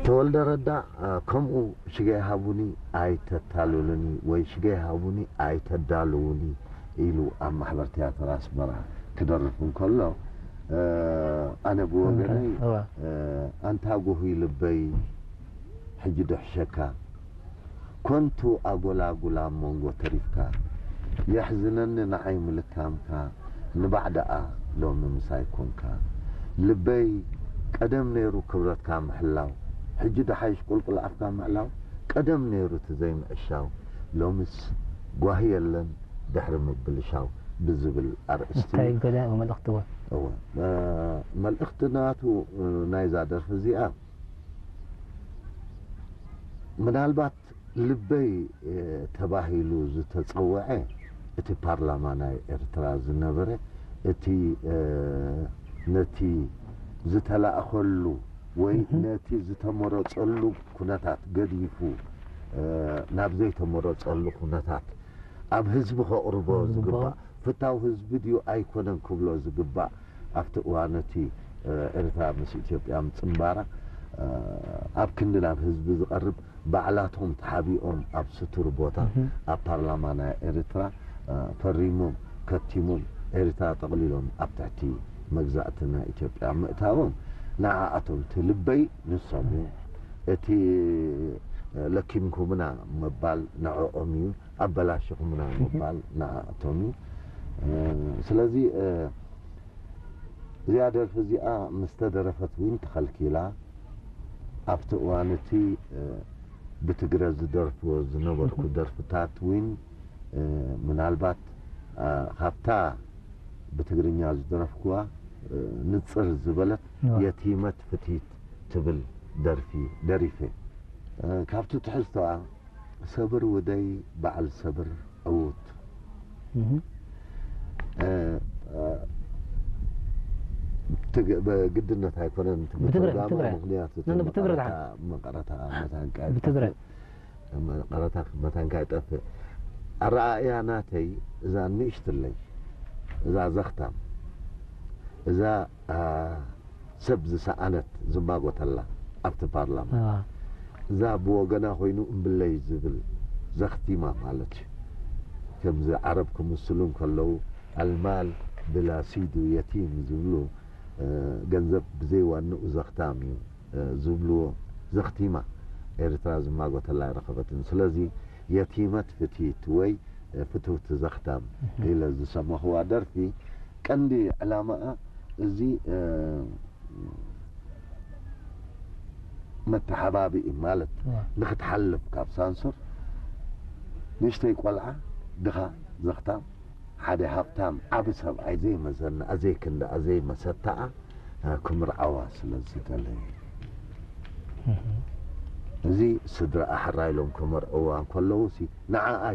ተወልደ ረዳ፣ እ፣ ከምኡ ሽገ ሃቡኒ ኣይተታልሉኒ ወይ ሽገ ሃቡኒ ኣይተዳልዉኒ ኢሉ ኣብ ማሕበር ትያትር ኣስመራ ክደርፍ እንከሎ፣ እ፣ ኣነ ብወገነይ፣ እዋ። እ፣ ኣንታ ጉሁይ ልበይ፣ ሕጂ ድሕሸካ፣ ኮንቱ ኣጎላጉል ኣብ መንጎ ተሪፍካ፣ የሕዝነኒ ንዓይ ምልካምካ፣ ንባዕ ደኣ ሎሚ ምሳይ ኮንካ። ልበይ ቀደም ነይሩ ክብረትካ ምሕላው፣ ሕጂ ደሓይሽ ቁልቁል ኣፍካ ምዕላው፣ ቀደም ነይሩ እቲ ዘይምዕሻው፣ ሎምስ ጓሂ የለን ድሕሪ ምብልሻው ብዝብል ኣርእስቲ እንታይ እዩ። ገለ መልእኽቲ እውን። እወ፣ እ፣ መልእኽቲ ናቱ፣ እ፣ ናይዛ ደርፊ እዚኣ ምናልባት ልበይ፣ እ፣ ተባሂሉ ዝተጸውዐ እቲ ፓርላማ ናይ ኤርትራ ዝነበረ እቲ፣ እ፣ ነቲ ዝተላእኸሉ ወይ እህ። ነቲ ዝተመረጸሉ ኩነታት ገዲፉ፣ እ፣ ናብ ዘይተመረጸሉ ኩነታት ኣብ ህዝቢ ከቕርቦ ዝግባእ ዝግባእ። ፍታው ህዝቢ ድዩ ኣይኮነን ክብሎ ዝግባእ ኣብቲ እዋን እቲ፣ እ፣ ኤርትራ ምስ ኢትዮጵያ ምጽንባራ፣ እ፣ ኣብ ክንዲ ናብ ህዝቢ ዝቐርብ ባዕላቶም ተሓቢኦም ኣብ ስቱር ቦታ እህ። ኣብ ፓርላማ ናይ ኤርትራ፣ እ፣ ፈሪሞም ከቲሞም ኤርትራ ጠቕሊሎም ኣብ ትሕቲ መግዛእቲ ናይ ኢትዮጵያ ምእታዎም ንዓኣቶም እቲ ልበይ ንሶም እዮም። እቲ፣ እ፣ ለኪምኩምና ምባል ንዕኦም እዩ። ኣበላሽኹምና ምባል ንዓኣቶም እዩ። እ፣ ስለዚ፣ እ፣ እዚኣ ደርፊ እዚኣ ምስ ተደረፈት እውን ተኸልኪላ። ኣብቲ እዋን እቲ፣ እ፣ ብትግረ ዝደርፍዎ ዝነበርኩ ደርፍታት እውን፣ እ፣ ምናልባት፣ እ፣ ካብታ ብትግርኛ ዝደረፍኩዋ፣ እ፣ ንጽር ዝበለት እዋ። የቲመት ፍትሂት ትብል ደርፊ ደሪፈ። እ፣ ካብቲ ትሕዝቶኣ ሰብር ውደይ በዓል ሰብር ዕዉት። እህ። እ፣ እ፣ ትግ-፣ ብግድነት ኣይኮነን እቲ ብትግረ-፣ ምትርጓማ፣ ብትግረ። ምኽንያቱ እቲ ኖ፣ ኖ፣ ብትግረ መቐረታ፣ መቐረታ መታንካ ብትግረ። ይጠፍእ። መቐረታ መታንካ ይጠፍእ። ኣረኣእያ ናተይ እዛ ንእሽትለይ፣ እዛ ዘኽታም፣ እዛ፣ ኣ፣ ሰብ ዝሰኣነት ዝማጎተላ ኣብቲ ፓርላማ። ኣዋ። እዛ ብወገና ኮይኑ እምብለይ ዝብል ዘኽቲማ ማለት እዩ። ከምዚ ዓረብ ክምስሉ እንከለዉ ኣልማል ብላ ሲዱ የቲም ዝብሉ፣ እ፣ ገንዘብ ብዘይ ዋንኡ ዘኽታም እዩ፣ እ፣ ዝብልዎ ዘኽቲማ ኤርትራ ዝማጎተላ ኣይረኸበትን። ስለዚ የቲመት ፍትሂት ወይ፣ እ፣ ፍትውቲ ዘኽታም እህ። ኢለ ዝሰማኽዋ ደርፊ ቀንዲ ዕላማኣ እዚ፣ እ፣ መተሓባብኢ ማለት እዋ። ንኽትሓልፍ ካብ ሳንሱር ንእሽተይ ቆልዓ ድኻ ዘኽታም ሓደ ሃብታም ዓቢ ሰብኣይ ዘይመዘና ዘይክንዳኣ ዘይመሰታኣ፣ እ፣ ክምርዓዋ ስለ ዝደለየ። እህ። እዚ ስድራኣ ሕራይ ኢሎም ክመርዕዋ እንከለዉ ሲ ንዓኣ